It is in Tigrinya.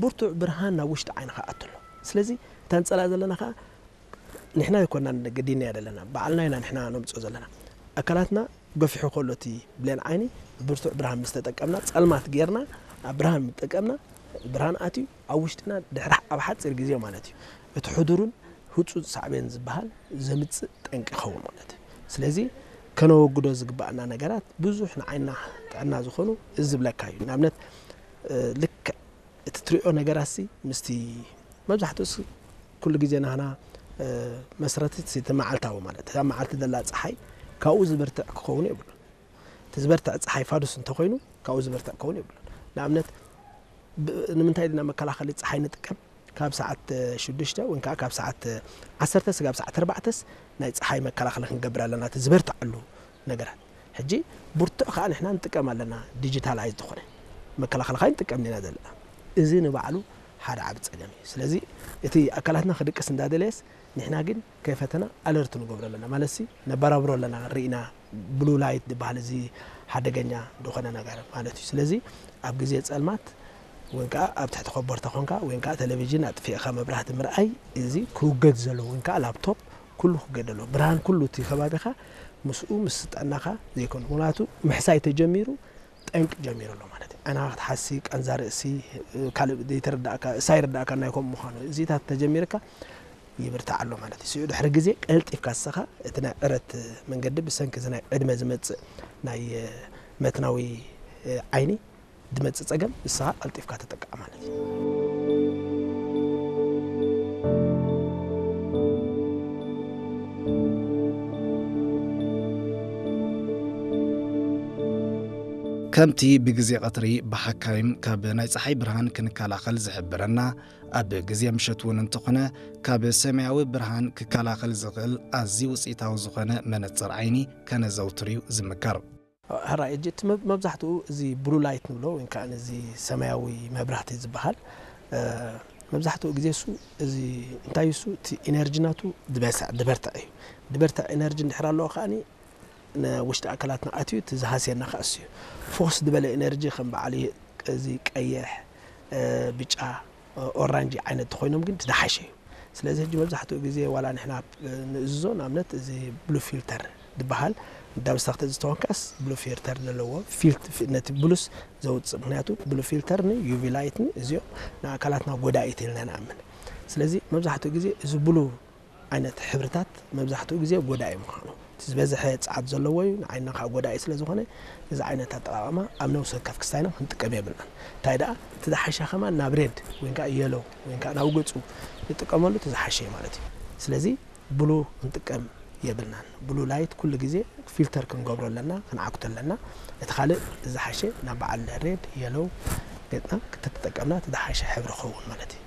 ብርቱዕ ብርሃን ናብ ውሽጢ ዓይንኻ ኣትሎ። ስለዚ እታ ንጸላ ዘለና ኸዓ ንሕና ኣይኮናን ገዲናያ ዘለና፣ ባዕልና ኢና ንሕና ነምጽኦ ዘለና። ኣካላትና ገፊሑ ከሎ እቲ ብሌን ዓይኒ ብርቱዕ ብርሃን ምስ ተጠቀምና፣ ጸልማት ጌርና ኣብ ብርሃን ምስ ተጠቀምና፣ ብርሃን ኣትዩ ኣብ ውሽጥና ድሕሪ ኣብ ሓጺር ግዜ ማለት እዩ፣ እቲ ሕዱርን ህጹጽ ሳዕቤን ዝበሃል ዘምጽእ ጠንቂ ይኸውን ማለት እዩ። ስለዚ ከነወግዶ ዝግባኣና ነገራት ብዙሕ ንዓይና ጥዕና ዝኾኑ እዚ ዝብለካ እዩ። ንኣብነት፣ እ፣ ልክዕ እቲ ትሪኦ ነገራት ሲ ምስቲ መብዛሕትኡ ሲ ኩሉ ግዜ ናህና፣ እ፣ መስረቲ እቲ መዓልታዊ ማለት እታ መዓልቲ ዘላ ጸሓይ ካብኡ ዝበርትዕ ክኸውን የብሉን። እቲ ዝበርትዕ ጸሓይ ፋዱስ እንተኾይኑ ካብኡ ዝበርትዕ ክኸውን የብሉን። ንኣብነት ብ-፣ ንምንታይ ድና መከላኸሊ ጸሓይ ንጥቀም? ካብ ሰዓት ሽዱሽተ ወይ ከዓ ካብ ሰዓት ዓሰርተ ስጋብ ሰዓት ኣርባዕተስ ናይ ጸሓይ መከላኸሊ ክንገብር ኣለና፣ እቲ ዝበርትዓሉ ነገራት። ሕጂ ብርቱዕ ከዓ ንሕና ንጥቀም ኣለና፣ ዲጂታላይዝ ዝኾነ መከላኸሊ ከዓ ንጥቀም ኢና ዘለና። እዚ ንባዕሉ ሓደ ዓቢ ጸገም እዩ። ስለዚ እቲ ኣካላትና ክድቅስ እንዳደለየስ ንሕና ግን ከይፈተና ኣለርት ንገብሮ ኣለና፣ ማለት ሲ ነበራብሮ ኣለና። ርኢና ብሉ ላይት ዝበሃል እዚ ሓደገኛ ዝኾነ ነገር ማለት እዩ። ስለዚ ኣብ ግዜ ጸልማት ወይ ከዓ ኣብ ትሕቲ ኮቦርታ ኮንካ ወይ ከዓ ቴሌቪዥን ኣጥፊእኻ መብራህቲ ምርኣይ፣ እዚ ክውገድ ዘለዎ ወይ ከዓ ላፕቶፕ ኩሉ ክውገድ ኣለዎ። ብርሃን ኩሉ እቲ ከባቢኻ ምስኡ ምስ ጥዕናኻ ዘይኮነ፣ ምኽንያቱ ምሕሳይ ተጀሚሩ ጠንቂ ጀሚሩ ኣሎ ማለት እዩ። ዓይንኻ ክትሓሲ፣ ቃንዛ ርእሲ፣ ካልእ ዘይተረዳእካ፣ እሳ ይርዳእካ ናይ ከምኡ ምዃኑ፣ እዚታት ተጀሚርካ ይብርታዕ ኣሎ ማለት እዩ። ስኡ ድሕሪ ግዜ ቀልጢፍካ ንስኻ እቲ ናይ ዕረት መንገዲ ብሰንኪ እዚ ናይ ዕድመ ዝመጽእ ናይ መትናዊ ዓይኒ ዝመጽእ ጸገም ንስኻ ቀልጢፍካ ተጠቃዕ ማለት እዩ። ከምቲ ብግዜ ቀትሪ ብሓካይም ካብ ናይ ጸሓይ ብርሃን ክንከላኸል ዝሕብረና፣ ኣብ ግዜ ምሸት እውን እንተኾነ ካብ ሰማያዊ ብርሃን ክከላኸል ዝኽእል ኣዝዩ ውጽኢታዊ ዝኾነ መነጽር ዓይኒ ከነዘውትር እዩ ዝምከር። ሕራይ፣ እጂ እቲ መብ-፣ መብዛሕትኡ እዚ ብሉ ላይት ንብሎ ወይ ከዓ እዚ ሰማያዊ መብራህቲ ዝበሃል፣ እ፣ መብዛሕትኡ ግዜ እሱ እዚ እንታይ እሱ እቲ ኢነርጂ ናቱ ዝበስዕ፣ ዝበርትዕ እዩ። ዝበርትዕ ኢነርጂ እንድሕር ኣለዎ ከዓኒ ንውሽጢ ኣካላትና ኣትዩ እቲ ዝሃስየና ከኣ እሱ እዩ። ፎስ ዝበለ ኢነርጂ ከም በዓል እዚ ቀይሕ፣ እ፣ ብጫ፣ ኦራንጂ ዓይነት ተኾይኖም ግን እቲ ዝሓሸ እዩ። ስለዚ ሕጂ መብዛሕትኡ ግዜ ዋላ ንሕና ንእዝዞ፣ ንኣብነት እዚ ብሉ ፊልተር ዝበሃል፣ ዳብ ስታክተ ዝተኾንካስ ብሉ ፊልተር ዘለዎ ፊልት-፣ ፊ-፣ ነቲ ብሉስ ዘውጽእ። ምኽንያቱ ብሉ ፊልተር ን ዩ ቪ ላይት ን እዚኦም ንኣካላትና ጎዳኢት ኢልና ንኣምን። ስለዚ መብዛሕትኡ ግዜ እዚ ብሉ ዓይነት ሕብርታት መብዛሕትኡ ግዜ ጎዳኢ ምዃኑ፣ እቲ ዝበዝሐ ጸዓት ዘለዎ እዩ፣ ንዓይንና ከዓ ጎዳኢ ስለ ዝኾነ፣ እዚ ዓይነት ኣጠቓቕማ ኣብ ነፍሲ ወከፍ ክስታይና ክንጥቀም የብልናን። እንታይ ደኣ፣ እቲ ዝሓሸ ከማን ናብ ሬድ ወይ ከዓ የሎ ወይ ከዓ ናብ ገጹ ንጥቀመሉ፣ እቲ ዝሓሸ እዩ ማለት እዩ። ስለዚ ብሉ ክንጥቀም የብልናን። ብሉ ላይት ኩሉ ግዜ ፊልተር ክንገብሮ ኣለና፣ ክንዓግቶ ኣለና። እቲ ካልእ ዝሓሸ ናብ በዓል ሬድ፣ የሎ ገጽና ክተተጠቀምና፣ እቲ ዝሓሸ ሕብሪ ክኸውን ማለት እዩ።